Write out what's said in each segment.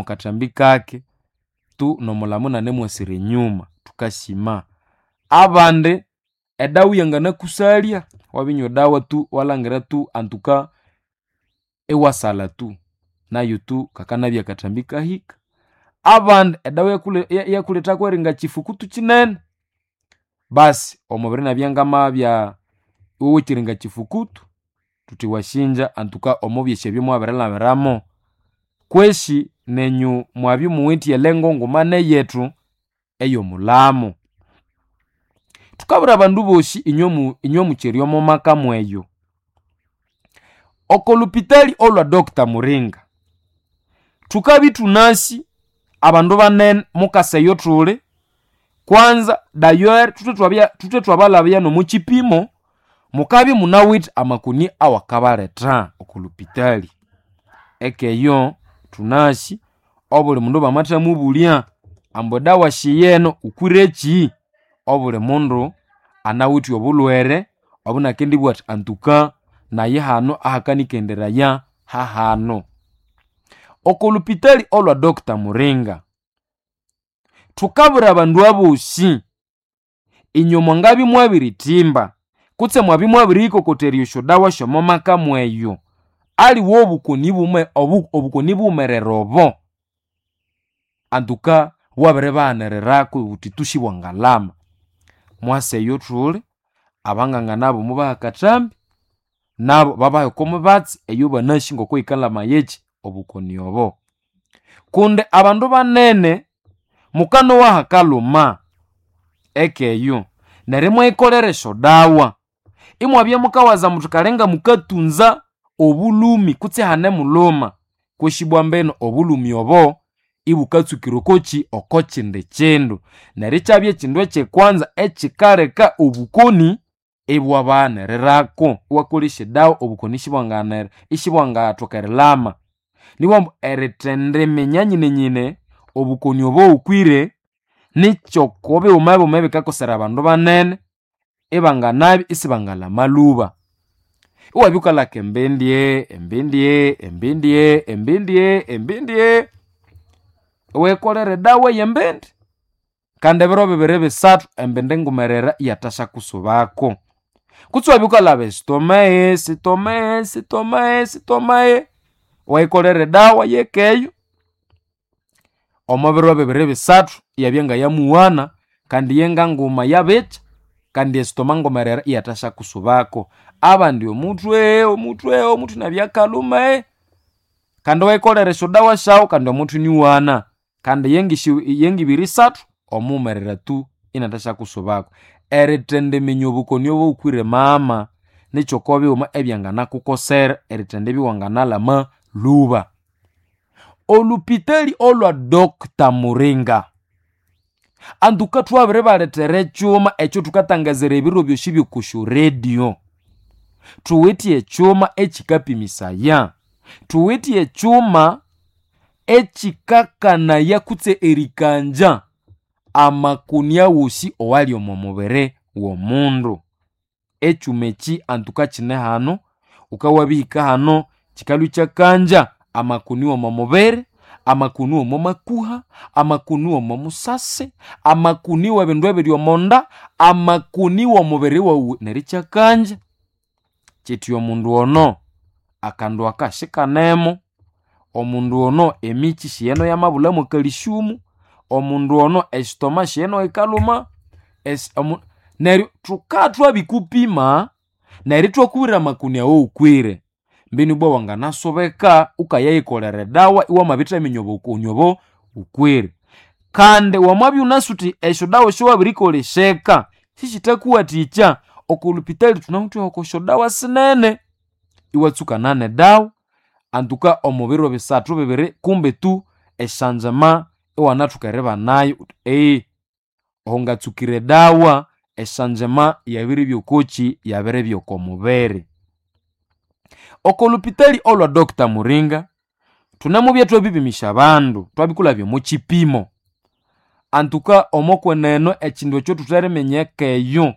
mukathambi kake tu nomulamo nanemwasira enyuma tukasima. Abandi edawa yanganakusalya wabinywa edawa tu walangira tu antuka iwasala tu nayo tu kakanabya akathambi kahika. Abandi edawa iyakulethako eringa kyifukutu kinene, basi omubiri inabya ngamabya iwowa ekiringa kyifukutu thuthi wasinja antuka omo byosi ebyo mwabirilhabiramo. Kwesi nenyu mwabya imuwithe elengo nguma neyethu eyomulamo. Thukabwira abandu bosi inywe mukyeri omo maka mweyo, oko lupitali olwa Doctor Muringa thukabya ithunasi abandu banene mukasa eyo thuli. Kwanza dayeri thuthe thwabalhabya nomo kyipimo, mukabya imunawithe amakoni awakabaletha oko lupitali. Ekeyo thunasi obuli mundu bamathamubulya ambu edawa shiyeno wukwireki, obuli mundu anawithe obulhwere obunakendibugha athi antuka nayi hano ahakanikenderaya hahano. Oko lupitali olwa Doctor Muringa thukabwira abandu abosi inywe mwangabya mwabirithimba kutse mwabya mwabiriyikokotherya esyodawa syomo maka mweyo, aliwe obukoni bume obukoni bughumerere obo antuka bwabiribaghaniriraku buthi tu sibwangalama. Mwasa eyo thuli, abanganga nabo mubaha akathambi, nabo babaha oko mubatsi eyobanasi ngoko yikalhamaya eki obukoni obo. Kundi abandu banene mukanowa hakalhuma ekeyo neryo imwayikolera esyodawa, imwabya mukawaza muthi kale ngamukatunza obulhumi kutse ihane mulhuma, kutse ibwa mbinu obulhumi obo ibukatsukira okoki oko kindi kindu. Neryo ikyabya ekindu ekyekwanza ekikaleka obukoni ibwabaghaniriraku. Iwakolesya edawa obukoni isibwangathoka erilhama. Nibughambu erithendiminya nyinenyine obukoni obo wukwire nikyoko bighuma bighuma ebikakosera abandu banene ibanganabya isibangalhama lhuba. Iwabya wukalhaka embindye, embindye, embindye, embindye, embindye, iwayikolera edawa ey'embindi kandi ebiro bibiri bisathu embindi ngumerere iyathasyakusubako. Kutse iwabya wukalhaba esitomae, sitomae, sitomae, sitomae, iwayikolera edawa yekeyo omo biro bibiri bisathu iyabya ngayamuwana kandi yenganguma yabikya kandi esitoma ngumerere iyathasyakusubako. Abandi omuthwe, omuthwe, omuthwe inabya akalhuma, kandi iwayikolera esyodawa syawu kandi omuthwe iniwana kandi yengibiri isathu omughumerere tu inathasyakusubako. Erithendiminya obukoni obo wukwire mama nikyoko bighuma ebyanganakukosera erithendibya iwanganalhama lhuba. Olhupitali olwa Doctor Muringa antuka thwabiribalethera ekyuma ekyo thukatangazira ebiro byosi by'okusyo radio. Thuwithe ekyuma ekikapimisaya, thuwithe ekyuma ekikakanaya kutse erikanja amakoni awosi owali omo mubiri w'omundu. Ekyuma eki antuka kine hano, wukawabihika hano kikalhwa ikyakanja amakoni w'omo mubiri, amakoni w'omo makuha, amakoni w'omo musasi, amakoni w'ebindu ebiri omo nda, amakoni w'omubiri wawu neryo ikyakanja. Kyithi omundu ono akandu aka sikanemo, omundu ono emikyi siyeno yamabulhamu ekalisiumu, omundu ono esitoma siyeno yikalhuma, neryo thuka thwabikupima neryo ithwakubwira amakoni awawukwire. Mbinu ibwa wanganasubeka wukayayikolera edawa iwamabithaminya obukoni obo wukwire. Kandi wamabya iwunasi wuthi esyodawa esyowabirikolesya sisithakuwathikya, oko lupitali thunawithe oko syodawa sinene, iwatsukana nedawa antuka omo biro bisathu bibiri kumbe tu esyanzima iwanathoka eribanayo wuthi oho ngatsukire edawa esyanzima yabiribya okokyi yabiribya oko mubiri. Oko lupitali olwa Doctor Muringa thunemubya thwabipimisya abandu thwabikulhabya omo kyipimo. Antuka omo kwenene ekindu ekyo thutheriminya ekeyo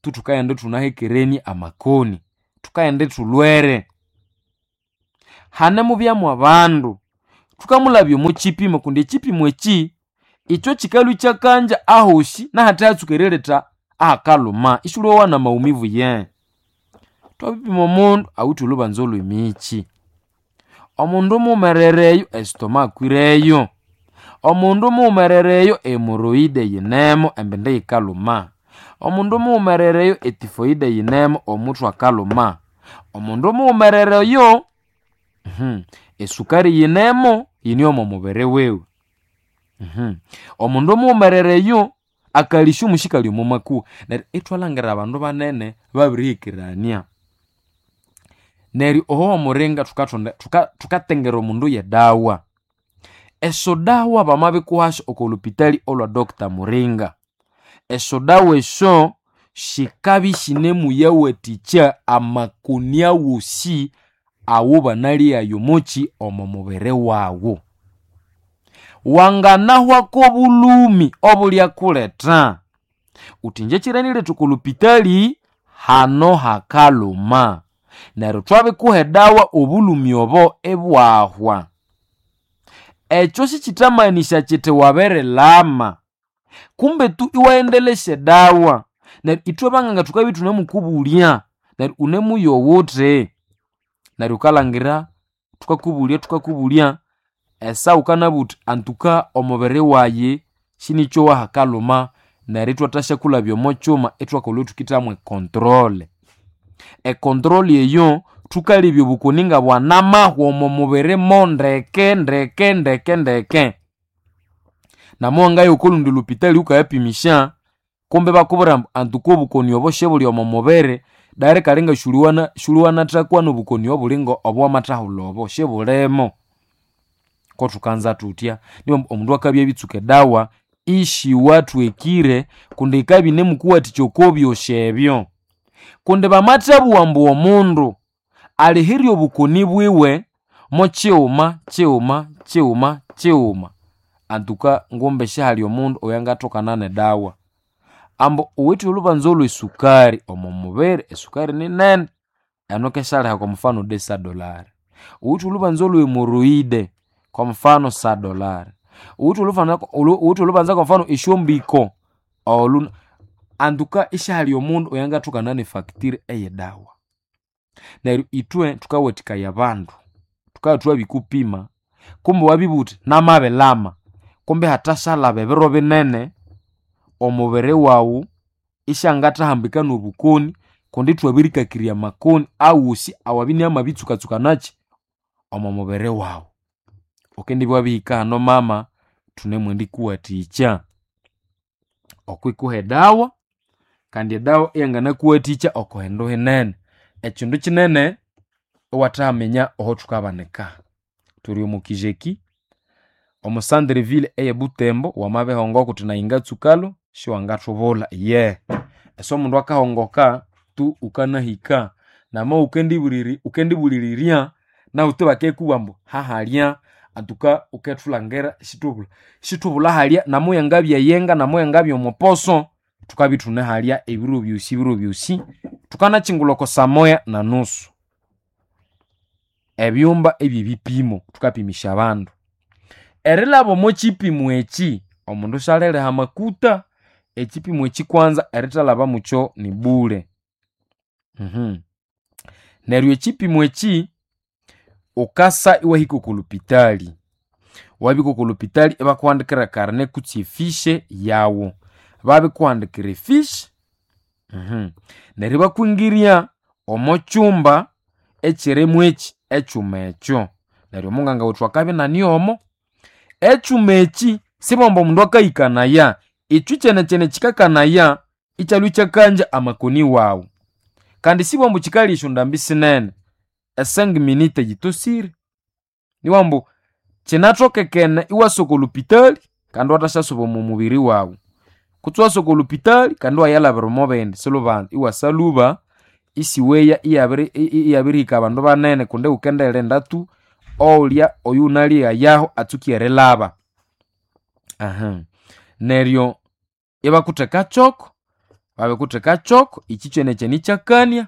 thukaghenda ithunahekerenie amakoni, thukaghenda ithulhwere. Hanemubyamu abandu. Thukamulabya omo kipimo kundi ekipimo eki ikyo kikalhwa ikyakanja ahosi nahathe eriletha ahakalhuma isiwulyowa namaumivu ye. Thwabipima omundu awithe olhubanza olhwemikyi, omundu mughumerere esitoma akwireyo, omundu mughumerere hemoroide yinemo embindi yikalhuma, omundu mughumerere etifoide yinemo omuthwe akalhuma, omundu mughumerere oyo esukari yinemo yine omo mubiri wiwe, omundu mughumerere oyo akalisyo sikali omo makuha. Neryo ithwalhangira abandu banene babirihikirania. Neryo oho omuringa thukatengera omundu yedawa. Esyodawa bamabikuhasyo oko lupitali olwa Doctor Muringa, esyodawa esyo sikabya isinemuyawathikya amakoni awosi awubanalyayo omokyi omo mubiri wawu. Wanganahwako obulhumi obulyakuletha wuthi ingye kyiraniletha oko lupitali hano hakalhuma. Neryo thwabikuha edawa obulhumi obo ibwahwa. Ekyo sikyithamanisa kyithi wabirilama kumbe tu iwaghendelesya edawa. Neryo ithwe banganga thukabya ithunemukubulya neryo wunemuyowa wuthi neryo wukalhangira thukakubulya thukakubulya esaha wukanabugha wuthi antuka omubiri wayi sinikyowa hakalhuma neryo ithwathasyakulhabya omo kyuma ithwakolha ithukithamu econtrol. Econtrol eyo thukalebya obukoni ngabwanamahwa omo mubiri mondeke ndeke ndeke ndeke. Namuwangaya okolundi lupitali wukayapimisya kumbe ibakubwira ambu antuka obukoni obo sibuli omo mubiri dayiri kali siwuliwanathakwa nobukoni obulinga obowamathahulha obo sibulimo. Kothukanza thuthya niba omundu akabya abitsuka edawa isiwathwekire kundi yikabya inemukuwathikya oko byosi ebyo. Kundi bamathabugha ambu omundu alihirye obukoni bwiwe mokighuma kighuma kighuma kighuma antuka ngumbi sihali omundu oyangathokana nedawa. Ambu wuwithe olhubanza olhwesukari omo mubiri, esukari ninene eno kesyaliha kwa mufano desa dolari. Wuwithe olhubanza olhwemoroide kwa mufano sa dolari. Wuwithe olhubanza kwa mufano esyombiko olhu antuka isihali omundu oyangathokana nefacture eyedawa. Neryo ithwe thukawathikaya abandu, thukabya thwabikupima kumbe wabibugha wuthi namabilama kumbe ihathasyalhaba ebiro binene omubiri wawu isyangathahambika nobukoni kundi ithwabirikakirya amakoni awosi awabya inamabitsukatsukanakyi omo mubiri wawu. Wukendibya wabihika hano mama thunemwendikuwathikya okwikuha edawa kandi edawa iyanganakuwathikya oko hindu hinene. Ekindu kinene iwathahaminya aho thukabanika. Thuli omo kijeki omo centre ville eye Butembo wamabihongoka wuthi nayi ngatsukalho siwangathubulha iyehe. Ese omundu akahongoka tu wukanahika nama wukendibuliririrya nahu tu bakendikubwira ambu hahalya antuka wukethulangira sithubulha halya namuyangabya eyenga namuyangabya omuposo thukabya ithune halya ebiro byosi ebiro byosi. Thukanakyingulha oko saa moya na nusu. Ebyumba ebyebipimo thukapimisya abandu. Erilhaba omo kipimo eki omundu syaliriha amakuta, ekipimo eki kwanza erithalhaba mukyo ni bule. Neryo ekipimo eki wukasa iwahika oko lupitali, wabihika oko lupitali ibakuhandikira ekarne kutse efishe yawu. Babikuhandikira efishe neryo ibakwingirya omo kyumba ekyirimu eki ekyuma ekyo. Neryo omunganga wethu akabya inaniomo. Ekyuma eki sibwamba omundu akahikanaya, ekyo kyenekyene kyikakanaya ikyalhwa ikyakanja amakoni wawu. Kandi sibwambu kyikalya esyondambi sinene, e cinq minutes yitosire. Niwambu kyinathokekene iwasa oko lupitali kandi iwathasyasuba omo mubiri wawu. Kutse iwasa oko lupitali kandi iwayalhabira omo bindi silhubanza iwasa lhuba isiweya iyabirihika abandu banene kundi wukendirinda tu owulya oyuwunalyeyayaho atsuke erilhaba. Neryo ibakutheka kyoko, babikutheka kyoko ekyi kyenekyene ikyakania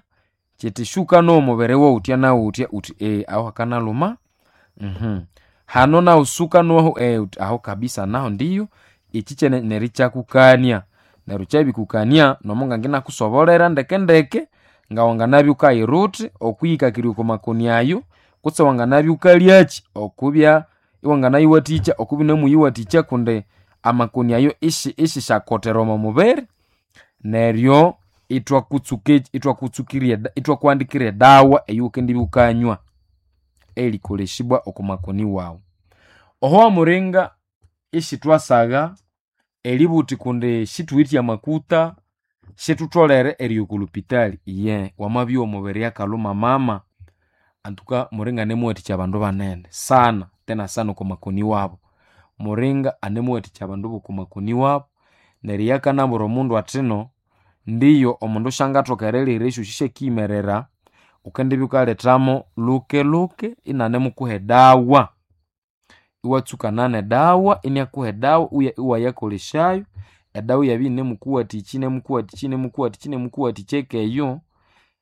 kyithi shuka nowa omubiri wawu wuthya nawuthya wuthi aho hakanalhuma. Hano naho suka noho aho kabisa naho ndiyo ichi kyene nerikyakukania. Neryo kyabikukania nomo nganginakusobolera ndeke ndeke ngawanganabya wukayiruthi okwiyikakirya oko makoni ayo kutse wanganabya wukalyakyi okubya iwanganayiwathikya okubya iwunemuyiwathikya kundi amakoni ayo ishisyakotera omo mubiri. Neryo ithwakuhandikira edawa eyawukendibya wukanywa eyerikolesibwa oko makoni wawu. Oho wamuringa isithwasagha eribugha wuthi kundi sithuwithe amakuta sithutholere eriya oko lhupitali. Iye wamabya omubiri akalhuma mama, antuka muringa anemuwathikya abandu banene sana tena sana oko makoni wabo. Muringa anemuwathikya abandu boko makoni wabo neryo iyo akanabwira omundu athino ndiyo omundu syangathoka erilihira esyosi syakiyimerera, wukendibya wukalethamo luke luke inanemukuha edawa. Iwatsukana nedawa inakuha edawa iwayakolesyayo, edawa iyabya iyinemukuwathikya inemukuwathikya inemukuwathikya inemukuwathikya ekeyo,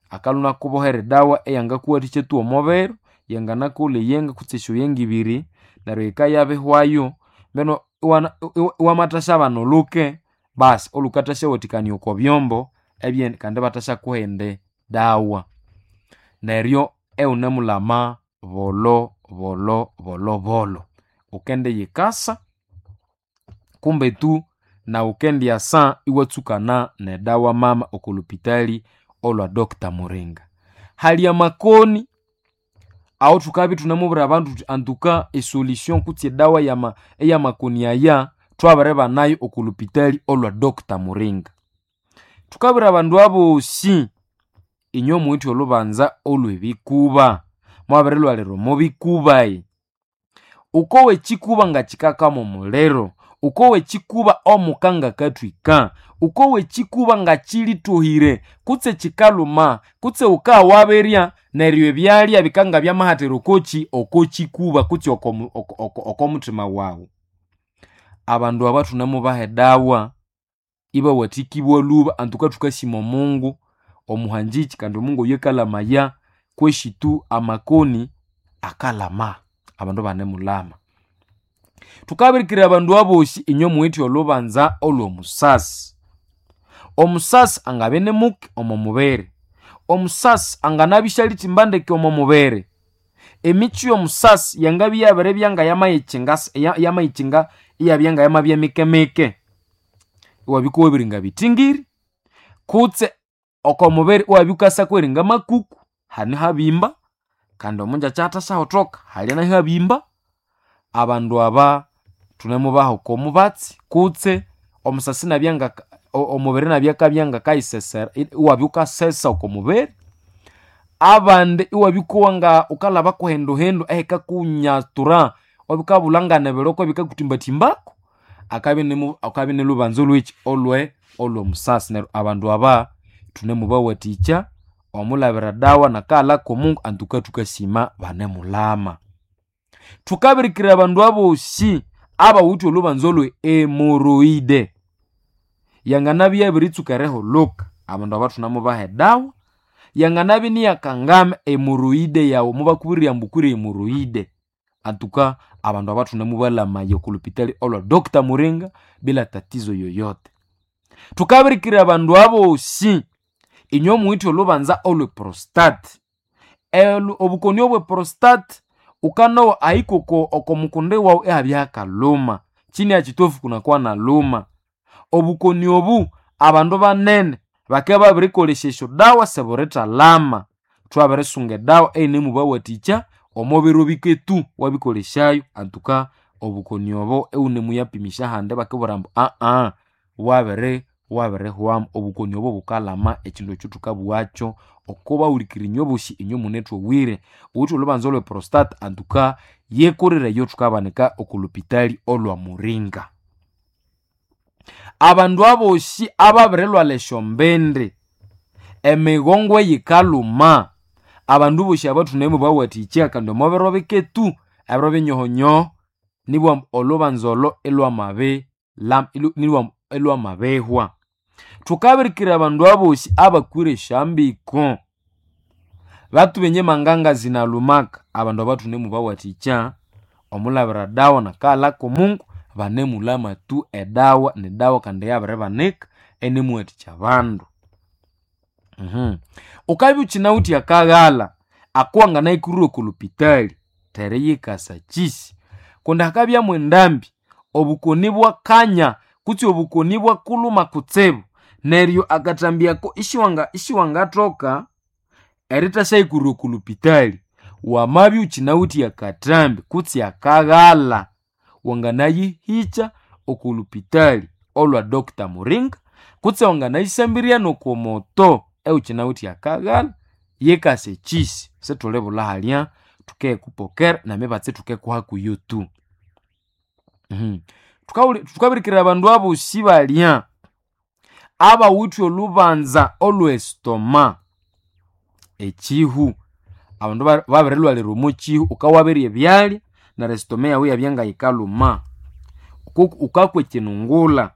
akalhwa inakubohera edawa eyangakuwathikya tu omobiro, yanganakolha eyenga kutse esyoyenga ibiri, neryo yikayabihwayo mbinu iwamathasyabana olhuke, basi olhukathasyawathikania oko byombo kandi ibathasyakuha eyindi dawa. Neryo iwunemulhama bolho bolho bolho bolho. Wukendiyikasa kumbe tu nawu wukendyasa iwatsukana nedawa mama oko lhupitali olhwa Doctor Muringa. Hali amakoni awo thukabya ithunamubwira abandu thuthi antuka esolution kutse edawa eyamakoni aya thwabiribanayo oko lhupitali olhwa Doctor Muringa. Thukabwira abandu abosi inywe muwithe olhubanza olhwebikuba, mwabirilhwalira omo bikuba. Wukowa ekyikuba ngakikakama omuliro, wukowa ekyikuba omuka ngakathwika, wukowa ekyikuba ngakyilithohire kutse kyikalhuma kutse wukagha wabirya neryo ebyalya bikangabya okokyi okokyikuba kutse okomuthima wawu. Abandu aba thunemubaha edawa ibawathikibwa lhuba antuka thukasima omungu omuhangiki kandi omungu oyo akalamaya kwesi tu amakoni akalama abandu ibanemulhama. Thukabirikira abandu abosi inywe muwithe olhubanza olhwomusasi. Omusasi angabya inimuke omo mubiri, omusasi anganabya isyalithimba ndeke omo mubiri. Emikyi yomusasi yangabya iyabiribya ngayamayitsinga iyabya ngayamabya mike mike. Iwabya wukawabiringa bithingiri kutse oko mubiri iwabya wukasa kweringa makuku, hane habimba kandi omungyakya athasyahotoka halya nahu ihabimba. Abandu aba thunemubaha oko mubatsi kutse omusasi inabya ngaka omubiri inabya akabya ngakayisesera iwabya wukasesa oko mubiri. Abandi iwabya wukowa nga wukalhaba kuhinduhindu ehikakunyatura iwabya wukabulha ngebiroko ebikakuthimbathimbako, akabya inilhubanza olhwekyi olhwomusasi. Neryo abandu aba thunemubawathikya omulhabira edawa nakaghalha komungu antuka thukasima banemulhama. Thukabirikira abandu abosi abawithe olhubanza olhwe hemorrhoid, yanganabya iyabiritsuka erihulhuka, abandu aba thunemubaha edawa. Yanganabya iniyakangama hemorrhoid yawu mubakubwira ambu wukwire hemorrhoid, antuka abandu aba thunemubalamaya oko lhupitali olhwa Doctor Muringa bila tatizo yoyote. Thukabirikira abandu abosi inywe muwithe olhubanza olhwe prostate. Obukoni obwe prostate wukanowa ahika oko mukundi wawu ihabya hakalhuma, chini ya kitofu kunakuwa nalhuma. Obukoni obu abandu banene bakabya babirikolesya esyodawa siburithalhama. Thwabirisunga edawa eyinemubawathikya omo biro bike tu wabikolesyayo antuka obukoni obo iwunemuyapimisya ahandi ibakubwira ambu wabirihwamu. Obukoni obo bukalhama ekyindu ekyo thukabugha oko bahulikirire inywe bosi inywe munethowire. Ghuwithe olhubanza olwe prostate antuka yekorere eyo thukabanika oko lhupitali olhwa Muringa. Abandu abosi ababirilhwalha esyombindi, emigongo eyikalhuma, abandu bosi aba thunemubawathikya kandi omo biro bike tu, ebiro binyohonyoho nibugha ambu olhubanza olho ilhwamabihwa. Thukabirikira abandu abosi abakwire esyambiko, bathuba enyemanganga zinalhumaka, abandu aba thunemubawathikya. Omulabira dawa nakaghala k'omungu banemulama tu edawa nedawa kandi yabiribanika enemuwathikya abandu. Ukabya ukinawithe akaghala akuwanganayikurira oko lupitali teriyikasa kyisi kundi hakabyamu endambi obukoni bwakanya kutse obukoni bwakuluma kutsibu neryo akathambi ako isiwangathoka eritasyayikurira oko lupitali. Wamabya ukinawithe akathambi kutse akaghala wanganayihikya oko lupitali olwa Dr. Muringa kutse wanganayisambirya noko moto ewukinawithe akaghala yikasa ekyisi sithulibulha halya thukekupokera nemibatsi thukekuha kuyo tu. Thukabirikirira abandu abosi balya abawithe olhubanza olw'estoma ekihu abandu babirilhwalira omo kihu wukawabirya ebyalya neryo estoma yawu iyabya ngayikalhuma wukakwa ekinungulha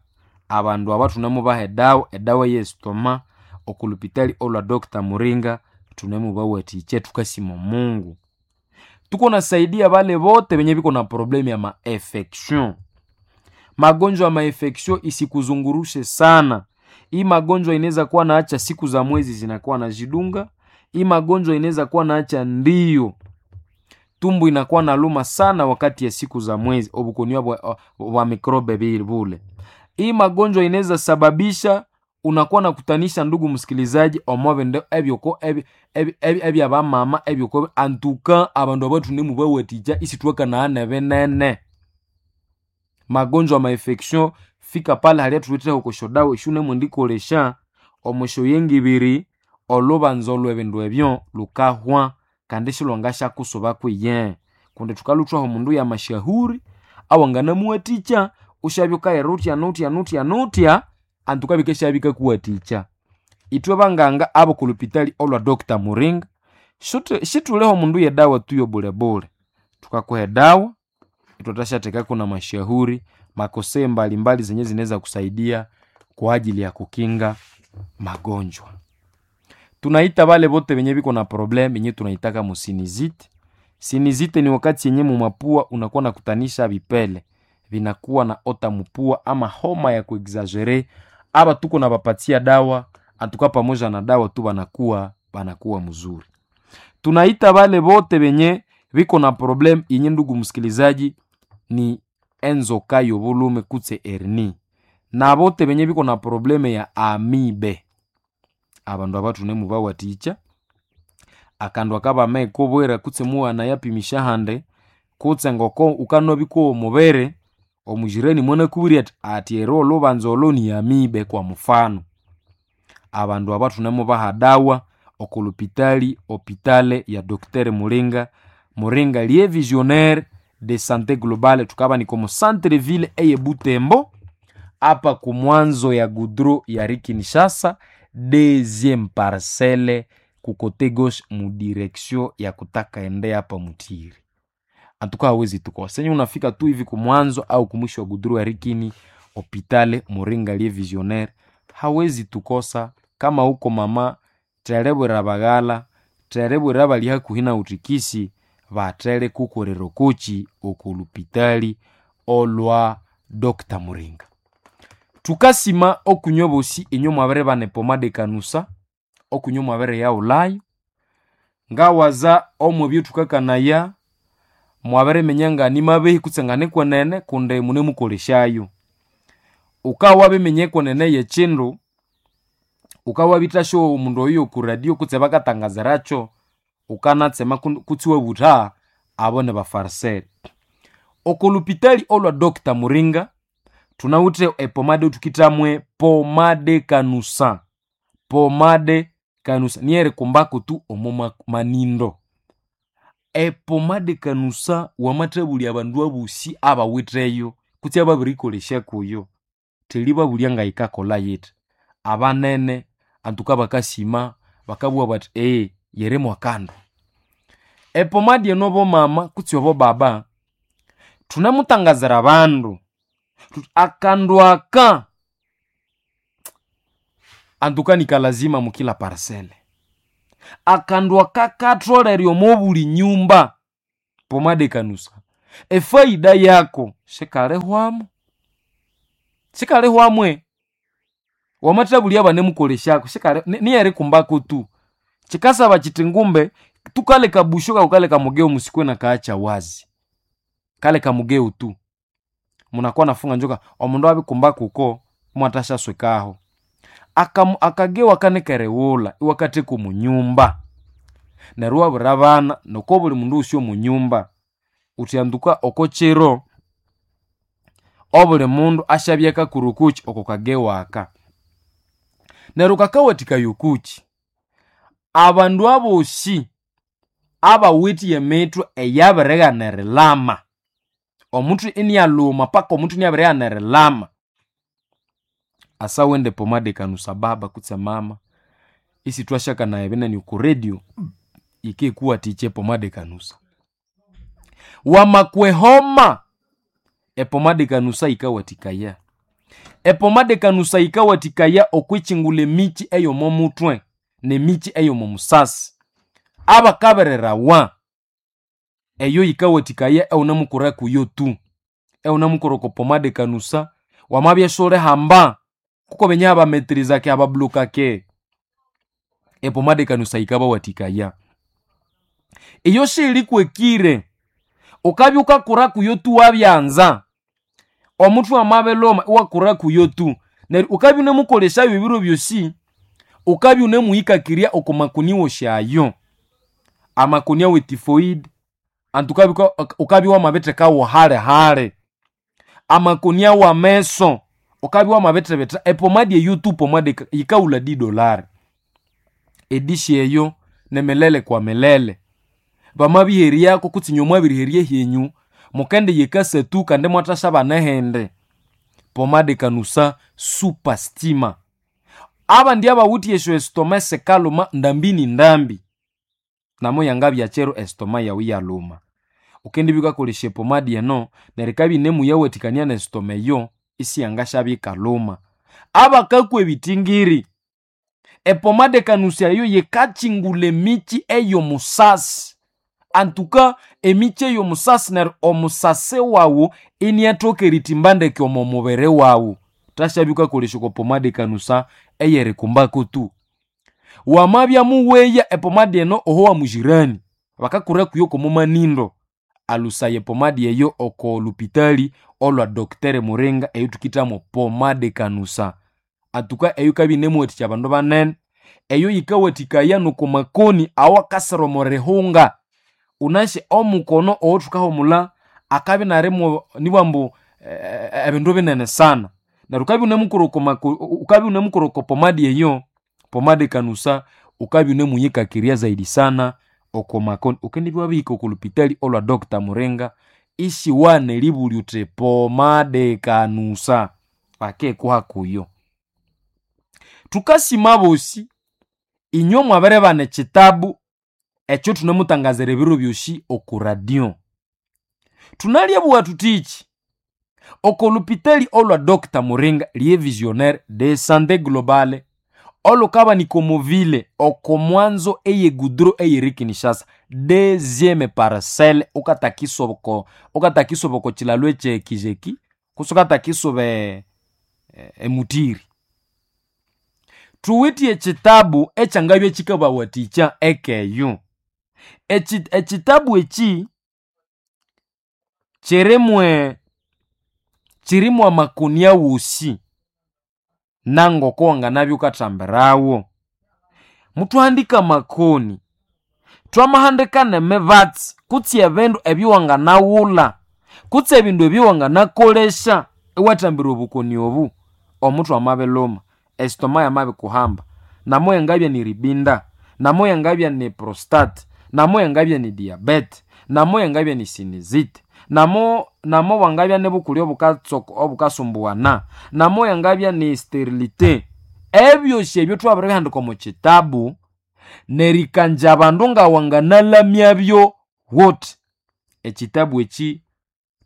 abandu aba thunemubaha edawa, edawa ey'estoma oko lupitali olwa Dr. Muringa thunemubawathikya thukasima omungu. Tukunasaidia bale bote benye biko na problemu ya maefection. Magonjwa ya maefection isikuzungurushe sana. Hii magonjwa inaweza kuwa naacha siku za mwezi zinakuwa nazidunga. Hii magonjwa inaweza kuwa naacha ndiyo tumbu inakuwa naluma sana wakati ya siku za mwezi obukoni bwa mikrobe bule. Hii magonjwa inaweza sababisha unakuwa nakutanisha ndugu msikilizaji omwabindu ebyoko ebyabamama ebyoko antuka abandu abathunemubawathikya isithwakanaghana nebinene. Magonjwa ma infection fika pale halya thuwitheho oko syodawa esyonemwendikolesya omo syoyengibiri olhubanza olw'ebindu ebyo lukahwa kandi silhwangasyakusuba kwiye kundi thukalhuthwaho omundu yamasyahuri awanganamuwathikya wusyabya wukayira wuthya nuthya nuthya nuthya antuka bikasyabya bikakuwathikya. Ithwe banganga ab'oko lupitali olwa Dr. Muringa sithuliho omundu yedawa tu yobulebule thukakuha edawa ithwathasyathekako n'amasyahuri makosee mbalimbali zenye zinaweza kusaidia kwa ajili ya kukinga magonjwa. Tunaita bale bote benye biko na problem yenye tunaitaka musinizite. Sinizite ni wakati yenye mumapua unakuwa nakutanisha vipele vinakuwa na ota mupua ama homa ya kuexagere aba tuko na bapatia dawa antuka pamoja na dawa tu banakuwa mzuri. Tunaita bale bote benye biko na problem yenye ndugu msikilizaji ni enzoka yobulume kutse hernie na bote benye biko na probleme ya amibe abandu aba thunemubawathikya akandu akabamekobwera kutse mughana handi kutse ngoko wukanabya omubiri omujirani mwanakubwira athi ati ero olhubanza olo ni amibe kwa mufano. Abandu aba thunemubaha dawa oko lupitali hopitale ya Dr. Muringa Muringa liye visionnaire de santé globale thukabanika omo centre ville eye Butembo apa kumwanzo ya goudron ya rue Kinshasa deuxième parcelle ku kote gauche mu direction ya kutaka ende hapa Mutiri. Antuka hawezi tukosa. Senye unafika tu hivi kumwanzo au kumwisho wa goudron ya Rikini hopitale Muringa liye visionnaire hawezi tukosa. Kama uko mama terebwera baghala terebwera bali hakuhi na utikisi batere kukorera okoki oko lupitali olwa Dr. Muringa. Thukasima okunywa bosi inywe mwabiribana epomade kanusa okunywa mwabiriyaghulhayo ngawaza omwebyo thukakanaya mwabiriminya nganimabehi kutse nganikwenene kundi munemukolesyayo. Wukabya wabiminya ekwenene yekyindu wukabya omundu oyo oku radio kutse bakatangaziracho wukanatsema kutse iwabutha abo nibafarisere. Oko lupitali olwa Dr. Muringa thunawithe epomade thukithamwe pomade kanusa pomade kanusa niyo erikumbako tu omo manindo. Epomade kanusa wamathabulya abandu abosi abawitheyo kutse ababirikolesya kuyo theribabulya ngayikakolha yithi. Abanene antuka bakasima bakabugha bathi yiri mwakandu. Epomade eno bomama kutse obobaba thunemutangazira abandu thuthi akandu aka antuka nikalazima mukila parcelle. Akandu aka katholere omo buli nyumba pomade kanusa. Efaida yako sikalihwamo, sikalihwamwe. Wamathabulya banemukoleshako sikali niyerikumbako tu. Chikasaba chiti ngumbe tukaleka busho kakukaleka mugeo musikwe na kaacha wazi. Kaleka mugeo tu. Munakuwa nafunga njoka omundu abikumba kuko mwatashaswekaho. Akagewa kanekerewula iwakatheka omunyumba. Neryo iwabwira abana noko buli mundu wosi omunyumba uthyanduka oko kiro obuli mundu asyabya akakura okukyi oko kagewa aka. Neryo kakawathikaya okukyi abandu abosi abawithe emithwe eyabirighana erilama, omuthwe inialhuma paka omuthwe iniabirighana erilama, asawende pomade kanusa baba kutse mama, isithwasyakanaya ebinene oko radio yikikuwathikya epomade kanusa. Wamakwa ehoma, epomade kanusa yikawathikaya. Epomade kanusa yikawathikaya okwikyingulha emikyi eyomo muthwe nemikyi eyomo musasi. Abakabererawa, eyo yikawathikaya ewunemukura kuyo tu. Ewunemukura oko pomade kanusa, wamabya isiwulihamba, kuko benye abametrizake abablokake, epomade kanusa yikabawathikaya. Iyo siyilikwekire, wukabya wukakura kuyo tu wabyanza, omuthwe wamabilhuma iwakura kuyo tu. Neryo wukabya wunemukolesyayo ebiro byosi, wukabya wunemuhikakirya oko makoni wosi ayo. Amakoni awe typhoid, anti wukabya wamabithekawo hali hali. Amakoni awameso, wukabya wamabithibitha epomadi eyo tu pomadi yikawulha $10. Edishi eyo nimilele kwa milele. Bamabiheryako kutse inywe mwabiriherya ehyenyu, mukendiyikasatu kandi imwathasya ehindi. Pomade kanusa super stima. Abandi abawithe esyo estoma esikalhuma ndambi ni ndambi, namo yangabya kiro estoma yawu iyalhuma. Wukendibya wukakolesya epomadi eno neryo yikabya yinemuyawathikania nesitoma eyo isiyangasyabya yikalhuma. Abakakwa ebitingiri, epomade kanusa eyo yikakyingulha emikyi eyomusasi. Antuka emikyi eyomusasi neryo omusasi wawu iniathoka erithimba ndeke omo mubiri wawu. Ghuthasabya wukakolesya oko pomade kanusa eyerikumbako tu. Wamabya muweya epomadi eno oho wamujirani, bakakura kuyo kwomumanindo, alhusaya epomadi eyo oko lupitali olwa Dr Muringa eyothukithamo pomade kanusa. Antuka eyo yikabya yinemuwathikya abandu banene, eyo yikawathikaya noko makoni awakasira omo rihunga. Wunasi omukono owothukahumulha akabya inalimo nibwambu ebindu binene sana. Neryo wukabya wunemukura oko pomadi eyo, pomade kanusa, wukabya wunemuyikakirya zaidi sana oko makoni. Wukendibya wabirihika oko lupitali olwa Dr Muringa isiwana eribulya wuthi pomade kanusa, bakikuha kuyo. Thukasima abosi inywe mwabiribana ekyitabu ekyo thunemutangazira ebiro byosi oko radio. Thunalyabuwa thuthiki, oko lupitali olwa Dr Muringa lye visionnaire de santé globale olukabanika omo ville oko mwanzo eye goudron eyiri Kinshasa, deuxième parcelle wukatakisuba oko kyilalo ekye Kijeki kutse wukatakisuba emutiri. Thuwithe ekyitabu ekyangabya kyikabawathikya ekeyo. Ekyitabu ekyi kyirimu amakoni awosi nangoko wanganabya wukathambirawo. Muthwahandika amakoni, twamahandika nemibatsi kutse ebindu ebyawanganaghulha kutse ebindu ebyawanganakolesya iwathambira obukoni obu, omuthwe amabilhuma, esitoma yamabikuhamba, namo yangabya niribinda, namo yangabya ni prostate, namo yangabya ni diabete, namo yangabya ni sinizite, namo namo bwangabya nibukuli obukasumbuwana, namo yangabya ni sterilite. Ebyosi ebyo thwabiribihandika omo kitabu nerikanja abandu ngawanganalamyabyo wuthi. Ekitabu eki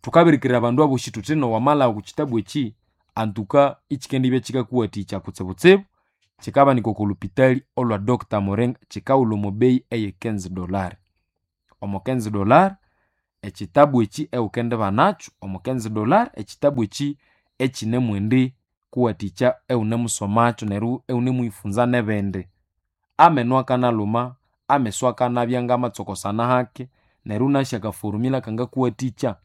thukabirikirira abandu abosi thuthi nowamalhagha oko kitabu eki antuka ikyikendibya kyikakuwathikya kutsibutsibu, kyikabanika oko lupitali olwa Dr Muringa kyikawulha omo beyi eye $15. Omo $15. Ekitabu eki ewukendibanacho omo $15, ekitabu eki ekinemwendi kuwathikya ewunemusomacho neryo ewunemuyifunza nebindi. Ameno akanalhuma, ameso akanabya ngamatsokosana hake, neryo wunasi akaforumila kangakuwathikya.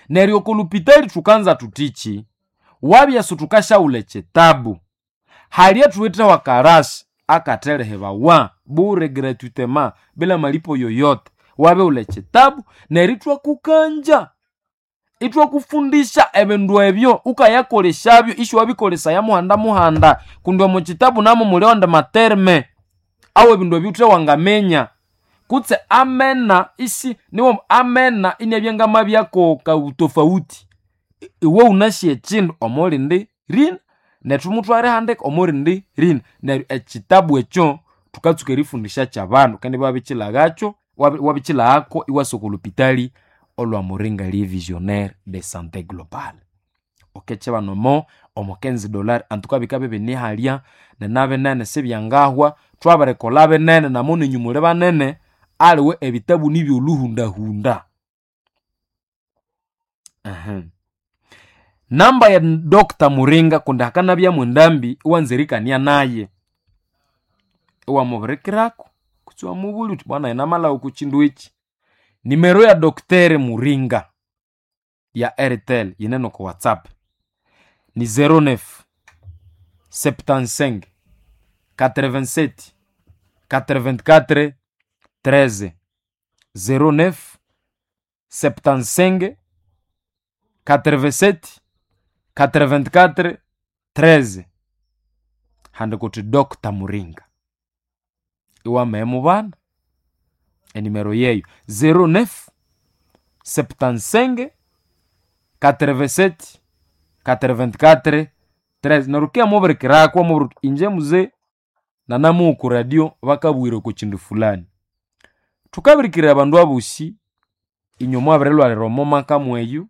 Neryo oko lupitali thukanza thuthiki, wabya isithukasyawulha ekitabu, hali ethuwitheho akarasi akatherihĩbawa bure, gratuitement, bila malipo yoyote. Wabirighulha ekitabu neryo ithwakukangya, ithwakufundisya ebindu ebyo wukayakolesyabyo isiwabikolesaya muhanda muhanda, kundi omo kitabu namo muli awandi materme awebindu ebyo wuthe wangaminya. Kutse amena isi niwo amena iniabya ngamabyako kabutofauti. Iwe wunasi ekindu omolindi rina nethu muthwarihandika omorindi rina. Neryo ekitabu ekyo thukatsuka erifundisya kyabandu kandi iwabikilhaghakyo, iwabikilaghako iwasa oko lupitali olwa Muringa le visionnaire de sante globale. Wukekibana omo omo $15 antuka bikabya ibinihalya ninabinene sibyangahwa, thwabirikolha binene namo ninyu muli banene, aliwe ebitabu nibyolhuhundahunda. Namba ya Dr. Muringa kundi hakanabyamu endambi iwanza erikania naye, iwamubirikirako kutse iwamubulya wuthi bwana namalhagha oko kindu eki. Nimero ya Dr. Muringa ya Airtel yine noko WhatsApp ni 09 75 87 84 13, 09 75 87 84 13, handika wuthi Dr. Muringa iwamagha mubana enimero yeyo 09 75 87 84 13. Neryo wukiya mubirikirako iwamubwira wuthi inje muze nanamuwa oku radio bakabwira oko kindu fulani. Thukabirikirira abandu abosi inywe mwabirilhwalira omo maka mweyu,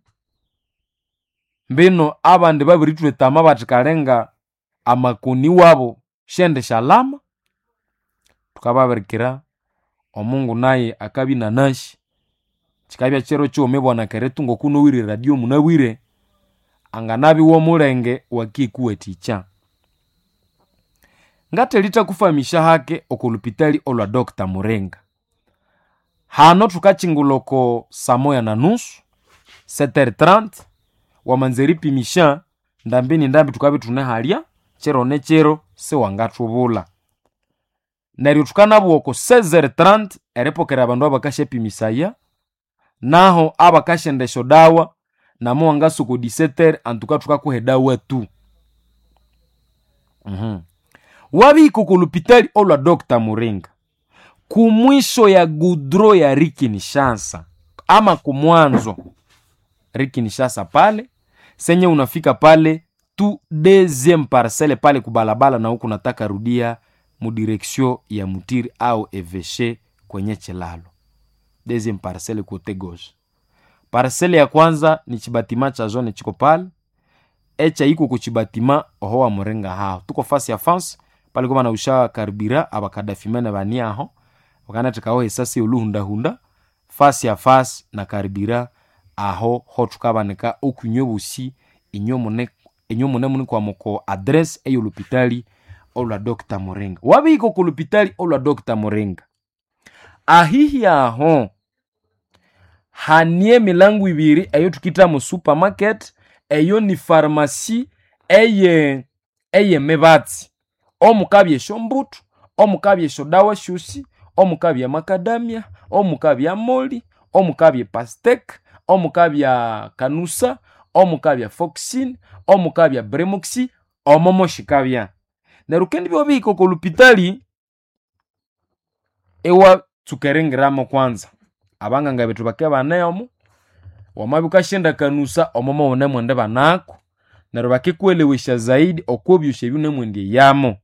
mbino abandi babirithwetama bathi kalenga amakoni wabo syendisyalama, thukababirikira omungu naye akabya inanasi. Kikabya kiro kighuma ibwana keritu ngoku nowire eradio munabwire, anganabya iwomulenge wakikuwathikya. Ngathelithakufamisya hake oko lupitali olwa Dr. Muringa. Hano thukakingulha oko saa moya na nusu, 7:30, wamanza eripimisya ndambi ni ndambi thukabya ithunehalya, kiro ni kiro siwangathubulha. Neryo thukanabuwa oko 16:30 eripokera abandu abakasyapimisaya, naho abakasyenda esyodawa namo wangasa oko 17:00 antuka thukakuha edawa tu. Wabihika oko lupitali olwa Dr. Muringa, kumwisho ya gudro ya Rikinshasa ama kumwanzo Rikinshasa pale senye unafika pale tu deuxième parcelle pale kubalabala, na huku nataka rudia mudirection ya Mutiri au Eveshe kwenye chilalo, deuxième parcelle kote gauche. Parcelle ya kwanza ni chibatima cha zone chiko pale echa iko kuchibatima oho wa Muringa hao tuko fasi ya fence pale koma nausha karibira abakadafimene bani aho wakanathekaho esasi yoluhundahunda fasi ya fasi na karibira aho ho thukabanika okunywa bosi inywe mune munikwamoko address eyolupitali olwa Dr. Muringa. Wabihika oko lupitali olwa Dr. Muringa, ahihi aho hanie emilango ibiri eyo thukitha mu supermarket, eyo ni pharmacy eye eyemibatsi, omukabya esyombuthu, omukabya esyodawa syosi, omukabya makadamia, omukabya moli, omukabya pastek, omukabya kanusa, omukabya foxin, omukabya bremoxi, omo moshikabya. Neryo kendibya wabihika oko lupitali iwatsuka eringiramo kwanza, abanganga bethu bakabya ibaneyomo, wamabya wukasyenda kanusa omo mowunemwendi banako, neryo bakikuelewesya zaidi okwa byosi ebyunemwendi eyamo.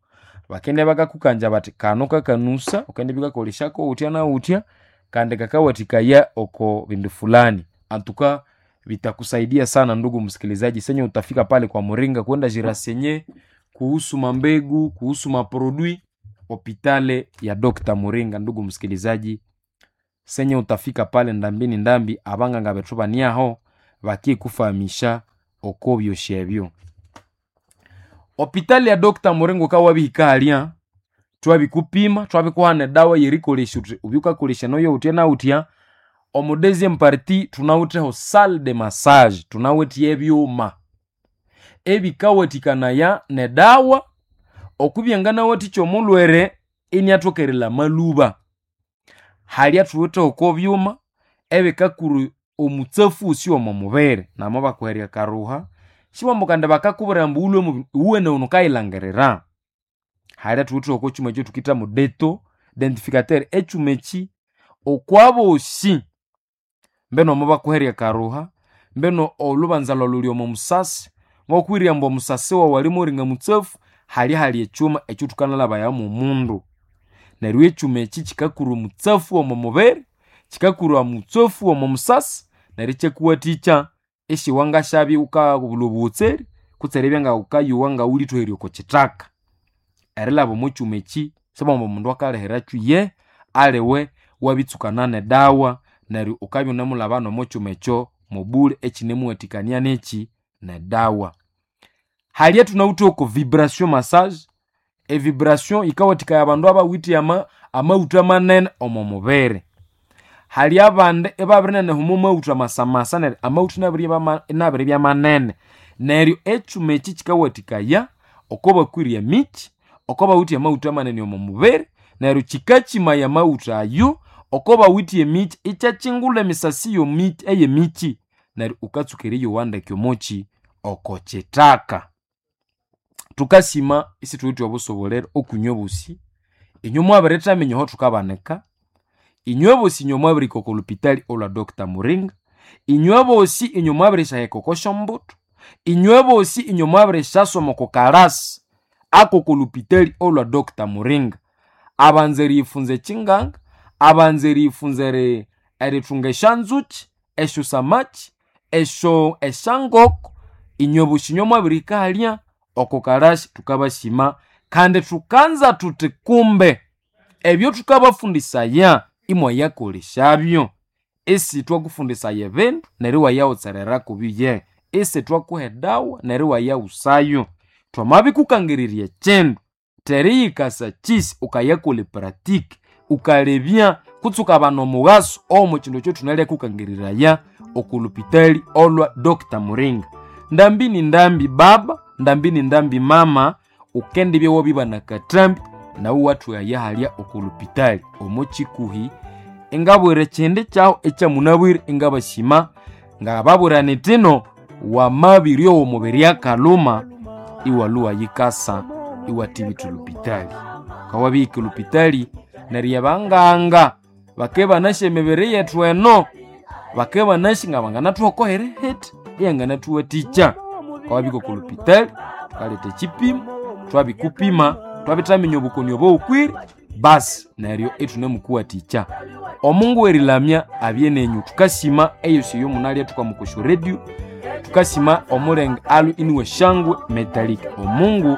Bakendibya bakakukanja bathi kano kakanusa wukendibya wukakolesyako wuthya na wuthya kandi kakawathikaya oko bindu fulani. Antuka vitakusaidia sana ndugu msikilizaji, senye utafika pale kwa Muringa kwenda jirasenye kuhusu mambegu, kuhusu maprodui hopitale ya Dr. Muringa. Ndugu msikilizaji, Senye utafika pale ndambi ni ndambi, abanganga bethu baniaho bakikufahamisha oko byosi ebyo. Opitali ya Dr. Muringo kawabihika halya, twabikupima, twabikuhana edawa yerikolesya uthi ubyukakolesya noyo utya na utya. Omu deuxième partie thunawitheho salle de massage, thunawithe ebyuma ebikawathikanaya nedawa okubyanganawathicha omulhwere iniathoka erilama lhuba. Halya thuwitheho oko byuma ebikakura omutsafu wosi omo mubiri, namo bakuherya akaruha sibambu kandi bakakubwira ambu wulhwe iwuwene wukayilhangirira. Halya thuwitheho oko kyuma ekyathukitha mu deto identificateur, ekyuma eki okwabosi mbeno mobakuherya akaruha, mbeno olhubanza lhwawu lhuli omo musasi, ngokwirya ambu omusasi wawu ali muringa mutsafu, halya hali ekyuma ekyathukanalhabaya mwomundu. Neryo ekyuma eki kikakura omutsafu omo mubiri, kikakura omutsafu omo musasi, neryo ikyakuwathikya isiwangasyabya wukabulha obuhotseri kutse eribya ngawukayowa ngawulithoherye oko kithaka. Erilhaba omo kyuma eki sibambu omundu akalhihirakyu ye, aliwe wabitsukana nedawa neryo wukabya iwunemulhaba nomo kyuma ekyo mobule ekinemuwathikania neki nedawa. Halya thunawithe oko vibration massage, evibration yikawathikaya abandu abawithe amaghutha manene omo mubiri. Hali abandi ibabirinenehoma omo maghutha masamasa neryo amaghutha inabiribya manene. Neryo ekyuma eki kikawathikaya oko bakwire emikyi, oko bawithe amaghutha manene omo mubiri, neryo kikakimaya amaghutha ayo oko bawithe emikyi ikyakyingulha emisasi ey'emikyi neryo wukatsuka eriyowa ndeke omokyi oko kithaka. Thukasima isithuwithe obusobolero okwinywe bosi, inywe mwabirithaminya aho thukabanika, inywe bosi inywe mwabirihika oko lupitali olwa Dr. Muringa, inywe bosi inywe mwabirisyahika oko syombuto, inywe bosi inywe mwabirisyasoma oko kalasi akoko lupitali olwa Dr. Muringa. Abanza eriyifunza ekyinganga, abanza eriyifunza erithunga esyanzuki, esyosamaki, esyo esyangoko, inywe bosi inywe mwabirihika halya oko kalasi thukabasima kandi thukanza thuthi kumbe ebyo thukabafundisaya imwayakolesyabyo. Isithwakufundisaya ebindu neryo iwayawutserera kubyo ye, isithwakuha edawa neryo iwayawusayo. Thwamabikukangirirya ekyindu teriyikasa kyisi ukayakolha epratique, ukalebya kutse ukabana omughaso omo kyindu ekyo thunalyakukangiriraya oko lupitali olwa Dr. Muringa. Ndambi ni ndambi baba, ndambi ni ndambi mama, ukendibya wabibana akathambi nawu iwathwaya halya oko lupitali omo kikuhi. Ingabwira ekyindi kyawu ekyamunabwire ingabasima ngababwira nithino wamabiryowa omubiri akalhuma iwalhuwa yikasa iwathibitha olupitali. Wukawabihika olupitali neryo abanganga bakabya ibanasi emibiri yethu eno, bakabya ibanasi ngabanganathuhako erihitha eyanganathuwathikya. Wukawabika oko lupitali thukaletha ekyipimo, thwabikupima, thwabithaminya obukoni obowukwire, basi neryo ithunemukuwathikya. Omungu w'erilamya abye nenyu. Thukasima eyosi eyomunalya thukama oko syo radio, thukasima omulenge alwe iniwe Shangwe Metallic. Omungu